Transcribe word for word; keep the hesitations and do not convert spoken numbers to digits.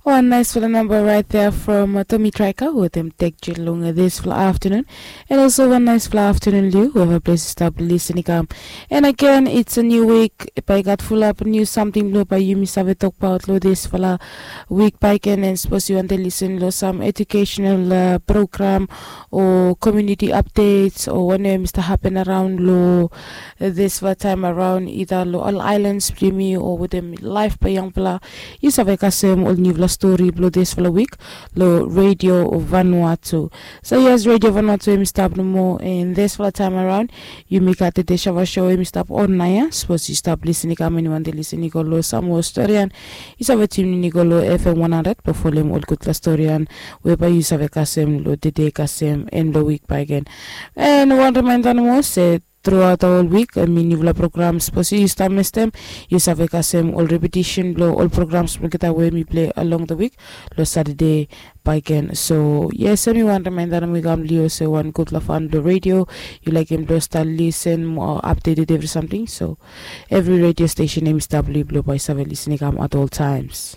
Wan naisfala namba rait dea from Tomi Traika wetem tek jin long disfala aftanun. And also wan naisfala aftanun liu weva ples i stap lisin i kam. And again, it's a new week. Bae i gat fulap niu samting blong bae yumi save tokbaot long disfala wik bae i ken. And sapos yu wantem lisin long sam educational program o community updates o wanem i stap hapen araon long disfala taem araon, ida long ol aelans blong yumi o wetem laef blong yangfala, yu save kasem ol niufala stori blong disfala wik long Radio Vanuatu. So yes, Radio Vanuatu em i stap nomo, and disfala taem araon yumi gat tede Shava Show em i stap on naia. Sapos yu stap lisin i kam, and yu wantem lisin i go long sam moa storian, yu save tiunin i go long FM one hundred blong folem ol gudfala storian we bae yu save kasem long tede kasem and long wik bae i ken. And wan rimaenda nomo se truaot ol wik, I mean, niufala programs, sapos yu stap mestem, yu save kasem ol repetisen blong ol programs blong olgeta we mi plei along the wik long Satade bae i ken. So yes, em i wan rimaenda nomo i kam long yu olsem wan gudfala fan blong radio. Yu laekem blong stap lisin moa updated evri samting. So evri radio stesen em i stap long yu blong bae yu save lisin i kam at all times.